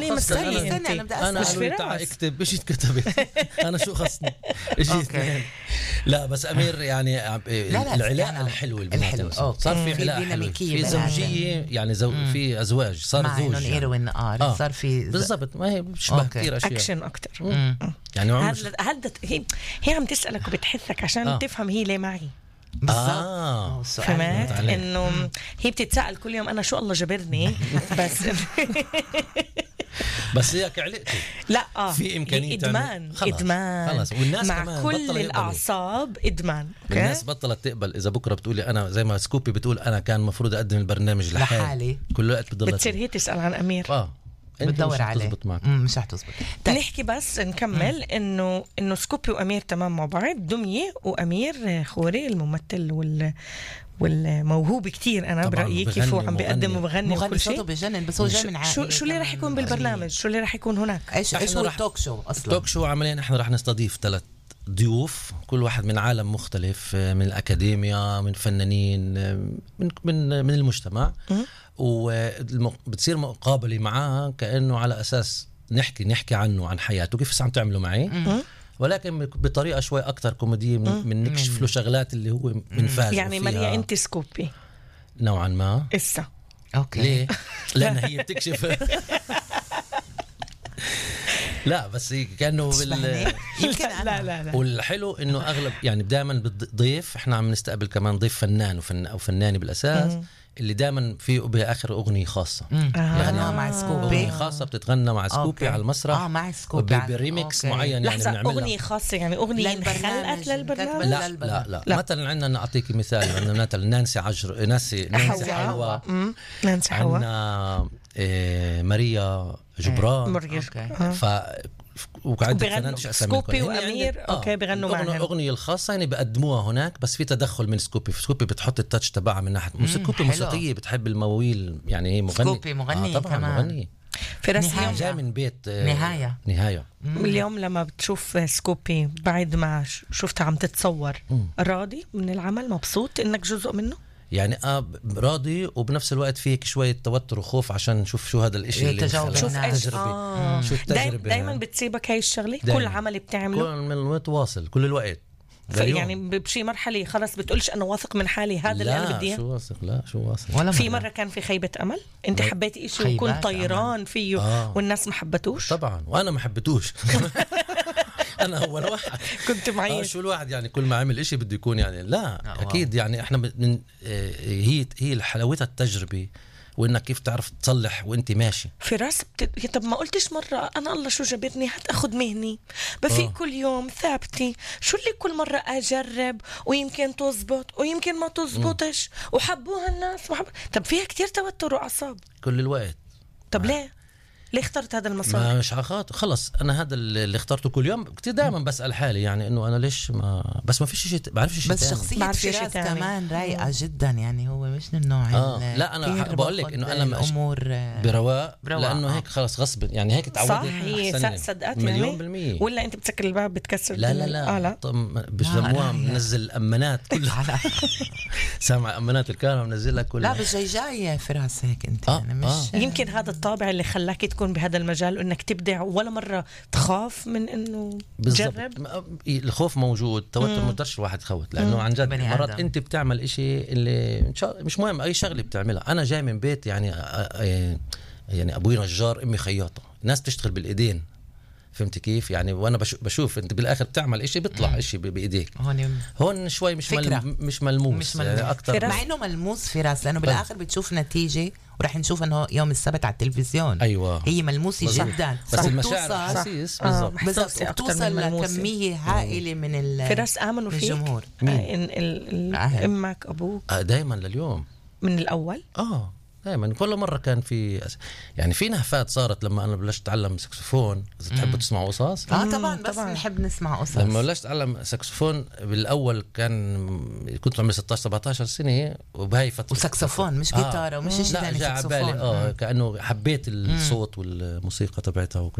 ليه مسألة أنا قالوا لي تعال اكتب إيش اتكتبت أنا شو خصني إيش لا بس أمير يعني العلاقة الحلوة البنات صار في علاقة حلوة في زوجية يعني في أزواج صار زوج يعني. صار في بالضبط ما هي بتشبه كثير أشياء أكشن أكتر يعني هذا هي عم تسألك وبتحثك عشان تفهم هي ليه معي فهمت إنه هي بتتسأل كل يوم أنا شو الله جبرني بس هيك علقتي لا في إمكانية إدمان خلاص والناس مع كل الأعصاب إدمان الناس بطلت تقبل إذا بكرة بتقولي أنا زي ما سكوبي بتقول أنا كان مفروض أقدم البرنامج لحالي كل وقت بتصير هي تسأل عن أمير بتدور عليه مش رح تزبط. نحكي بس نكمل إنه سكوبي وأمير تمام مع بعض. دمية وأمير خوري الممثل والموهوب كتير أنا برأيي كيف هو عم بيقدم وبغني وكل شيء بجنن. بس هو جاي من عائلة شو اللي رح يكون بالبرنامج شو اللي رح يكون هناك ايش هو التوك شو اصلا توك شو عمليا احنا رح نستضيف 3 ضيوف كل واحد من عالم مختلف من الأكاديمية من فنانين من المجتمع وبتصير مقابلة معاه كأنه على أساس نحكي عنه عن حياته كيف عم تعملوا معي ولكن بطريقة شوي أكتر كوميدية من نكشف له شغلات اللي هو منفاجئ يعني ماليا أنت سكوبي نوعا ما إسا أوكي ليه؟ لأن هي بتكشف لا بس كأنه يمكن لا والحلو إنه أغلب يعني دائما بالضيف إحنا عم نستقبل كمان ضيف فنان أو فنانة بالأساس اللي دائما في بآخر أغنية خاصة يعني مع سكوبي أغنية خاصة بتتغنى مع سكوبي على المسرح مع سكوبي بريميكس معين يعني بنعملها أغنية خاصة يعني أغنية خلقت للبرنامج لا مثلا عندنا نعطيك مثال عندنا مثلا نانسي حلوة عندنا ماريا جبران وقاعد سكوبي وأمير أوكي بيغنوا معهم أغنية الخاصة يعني بقدموها هناك بس في تدخل من سكوبي بتحط التاتش تبعها من ناحية سكوبي موسيقية بتحب المواويل يعني هي مغني طبعا مغني في رسم جاي من بيت نهاية اليوم لما بتشوف سكوبي بعد ما شفتها عم تتصور راضي من العمل مبسوط إنك جزء منه يعني راضي وبنفس الوقت فيك شوية توتر وخوف عشان نشوف شو هذا الاشي اللي شوف التجربة شو التجربة دايما بتصيبك هاي الشغلة كل عمل بتعمله كل متواصل كل الوقت يعني بشي مرحلة خلاص بتقولش أنا واثق من حالي هذا اللي أنا بدي شو واثق في مرة كان في خيبة أمل أنت حبيتي إشي وكنت طيران فيه والناس ما حبتوش طبعا وأنا ما حبتوش أنا أول واحد كنت معي شو الواحد يعني كل ما عمل إشي بده يكون يعني لا أكيد يعني إحنا من هي حلاوتها التجربة وإنك كيف تعرف تصلح وإنت ماشي في راس طب ما قلتش مرة أنا الله شو جبرني هتأخذ مهني بفيق كل يوم ثابتي شو اللي كل مرة أجرب ويمكن تزبط ويمكن ما تزبطش وحبوها الناس طب فيها كتير توتر وعصاب كل الوقت طب ليه اخترت هذا المسار؟ مش عخاط خلص أنا هذا اللي اخترته كل يوم كتير دائما بسأل حالي يعني إنه أنا ليش بس ما فيش شيء بعرفش شيء بس شخصية فراس كمان رايقة جدا يعني هو مش من النوع لا أنا بقول لك إنه أنا الأمور برواء لأنه هيك خلص غصب يعني هيك تعودت صح هي صدقت يعني 100% ولا أنت بتسكر الباب بتكسر لا بيسموها منزل أمانات كلها سامع أمانات الكهرباء منزلها كلها لا بس جاي فراس هيك أنت يعني مش يمكن هذا الطابع اللي خلاك تكون بهذا المجال وإنك تبدع ولا مرة تخاف من إنه تجرب الخوف موجود توتر مقدرش الواحد يخوت لأنه عن جد مرات أنت بتعمل إشي اللي مش مهم أي شغلة بتعملها أنا جاي من بيت يعني أبوي نجار أمي خياطة الناس تشتغل بالإيدين فهمت كيف يعني وانا بشوف انت بالاخر بتعمل اشي بيطلع اشي بايديك هون شوي مش ملموس يعني اكثر مع انه ملموس في راس لانه بالاخر بتشوف نتيجه ورح نشوف انه يوم السبت على التلفزيون ايوه هي ملموسه جدا بس المشاعر حسيس بالضبط بتوصل لكميه هائله من في راس امنوا فيك الجمهور امك ابوك دائما لليوم من الاول دائما كل مرة كان في يعني في نهفات صارت لما أنا بلشت أتعلم ساكسفون إذا تحبوا تسمعوا قصص طبعا بس نحب نسمع قصص لما بلشت أتعلم ساكسفون بالأول كنت عمري 16-17 سنة وبهاي فترة وساكسفون مش جيتارة ومش شيء ثاني ساكسفون كأنه حبيت الصوت والموسيقى تبعتها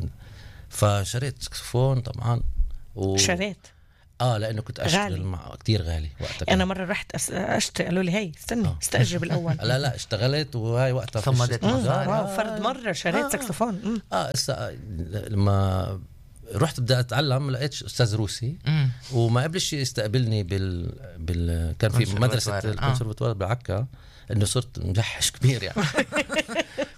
فشريت ساكسفون طبعا شريت لانه كنت اشتغل غالي. مع كتير غالي وقتها. انا مره رحت اشتري، قالوا لي هي استني استاجر بالاول. لا اشتغلت وهاي وقتها صمدت مصاري. واو، فرد مره شريت ساكسفون. لما رحت بدي اتعلم لقيت استاذ روسي وما قبلش يستقبلني كان في مدرسه الكونسرفتوار بعكا، انه صرت مجحش كبير يعني.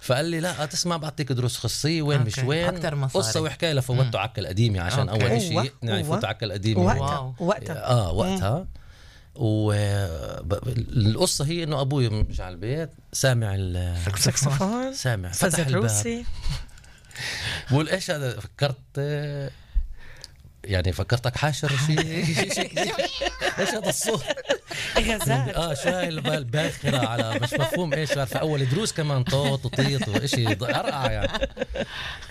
فقال لي لا تسمع بعطيك دروس خصوصية وين مش وين، قصة وحكاية لفوتوا عكا القديمة عشان أول شيء يفوتوا عكا القديمة وقتها. والقصة هي إنه أبوي مش على البيت سامع الساكسفون، سامع فتح الباب بقول إيش هذا، فكرتك حاشر شيء ايش هذا الصوت غازات شو هاي الباخرة على مش مفهوم ايش. في اول دروس كمان طوط وطيط واشي ارقع يعني.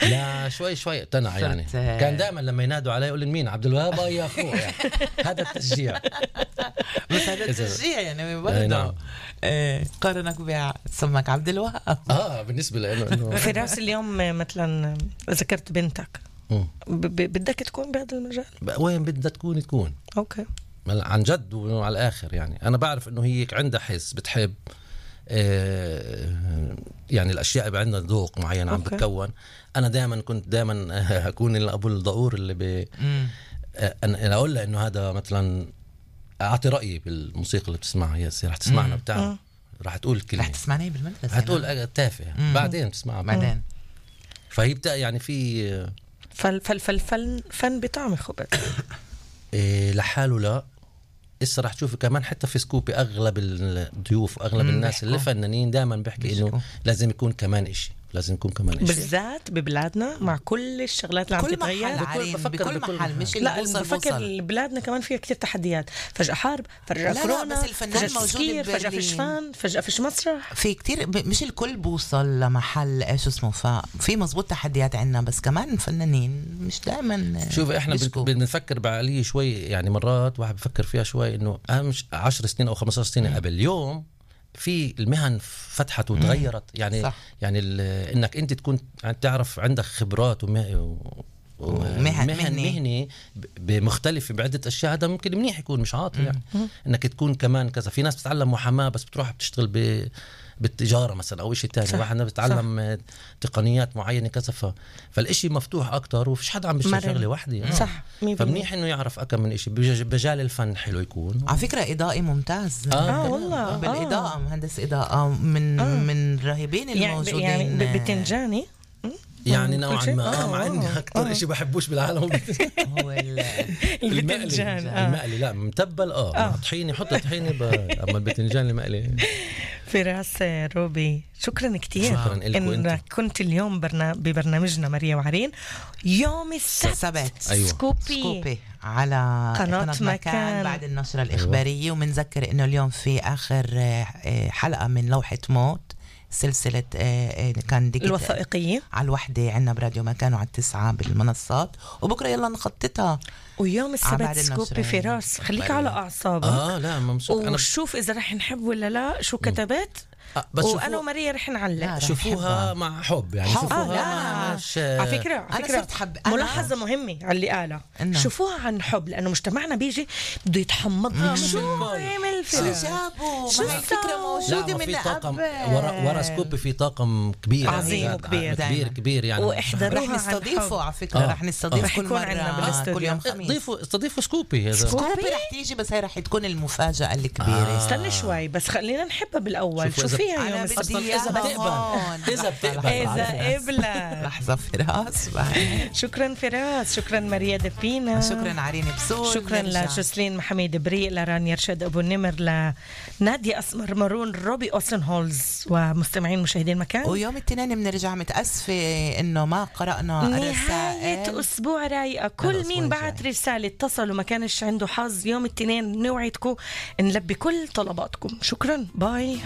لا شوي اقتنع يعني. كان دائما لما ينادوا علي يقول لي مين عبد الوهاب يا اخوه يعني. هذا التشجيع. بس هذا التشجيع يعني برضه قارنك بسمك عبد الوهاب. بالنسبه لانه في راس اليوم مثلا ذكرت بنتك بدك تكون بهذا المجال، وين بدها تكون اوكي عن جد وعلى الاخر يعني. انا بعرف انه هي عندها حس بتحب يعني الاشياء عندها ذوق معين عم بتكون. انا كنت دائما اكون ابو الضعور اللي انا اقول لها انه هذا مثلا اعطي رايي بالموسيقى اللي بتسمعها. هي رح تسمعنا بتاع رح تقول كلمه، رح تسمعني بالمدرسه، رح تقول تافه بعدين تسمعها بعدين. فهي بتاع يعني في فن بطعم خبز لحاله. لا إسا رح تشوفي كمان حتى في سكوبي أغلب الضيوف وأغلب الناس اللي فنانين دائما بيحكي إنه لازم يكون كمان إشي، بالذات ببلادنا مع كل الشغلات اللي عم تتغير بكل محل مش لا بفكر بلادنا كمان فيها كتير تحديات، فجأة حرب، فجأة كورونا، فجأة تسكير، فجأة فشفان، فجأة فيش مسرح. في كتير مش الكل بوصل لمحل ايش اسمه. ففي مزبوط تحديات عنا، بس كمان فنانين مش دائما. شوف احنا بنفكر بعليه شوي يعني. مرات واحد بفكر فيها شوي انه مش 10 سنين او 15 سنة قبل. اليوم في المهن فتحت وتغيرت يعني صح. يعني انك انت تكون تعرف عندك خبرات مهني بمختلفة بعدة أشياء، هذا ممكن منيح يكون مش عاطل يعني. إنك تكون كمان كذا. في ناس بتتعلم محاماة بس بتروح بتشتغل بالتجارة مثلا أو إشي تاني. واحد بتتعلم تقنيات معينة كذا. فالإشي مفتوح أكتر وفيش حدا عم بيشتغل شغلة واحدة صح. فمنيح إنه يعرف أكم من إشي. بمجال الفن حلو يكون. على فكرة إضائي ممتاز. والله بالإضاءة مهندس إضاءة من راهبين الموجودين يعني بتنجاني يعني نوعا ما مع اني اكثر شيء بحبوش بالعالم هو المقلي. لا متبل طحيني، حط طحيني اما البتنجان المقلي. فراس روبي شكرا كتير انك كنت اليوم ببرنامجنا ماريا وعرين يوم السبت. أيوة. سكوبي على قناة مكان بعد النشرة الإخبارية. ومنذكر انه اليوم في اخر حلقة من لوحة موت سلسلة كان الوثائقية على الوحدة عنا براديو مكان وعلى 9 بالمنصات. وبكرة يلا نخططها ويوم السبت سكوبي فراس. خليك على أعصابك. لا ممسوك. وشوف إذا رح نحب ولا لا شو كتبت. بس وأنا وماريا رح نعلق. شوفوها مع حب يعني. شوفوها مش على فكرة ملاحظة مهمة على اللي قالها. شوفوها عن حب، لأنه مجتمعنا بيجي بده يتحمض. شو عمل جابوا؟ ما الفكرة موجودة من طاقم ورا سكوب. في طاقم كبير عظيم وكبير كبير يعني. واحضروها. رح نستضيفه على فكرة. رح نستضيف كل مرة كل يوم خميس. استضيفوا سكوبي. سكوبي رح تيجي، بس هي رح تكون المفاجأة الكبيرة. استنى شوي بس خلينا نحبها بالأول. شو فيها يوم السبت؟ إذا بتقبل لحظة فراس. شكرا فراس، شكرا ماريا دبينا، شكرا عرين بسول، شكرا لجسلين محمد بريء، لرانيا رشاد أبو النمر، لنادية أسمر مارون، روبي أوسن هولز، ومستمعين مشاهدين مكان. ويوم الاثنين بنرجع. متأسفة إنه ما قرأنا نهاية أسبوع رايقة. كل مين بعت رسالة اتصل وما كانش عنده حظ يوم الاثنين نوعدكم نلبي كل طلباتكم. شكرا. باي.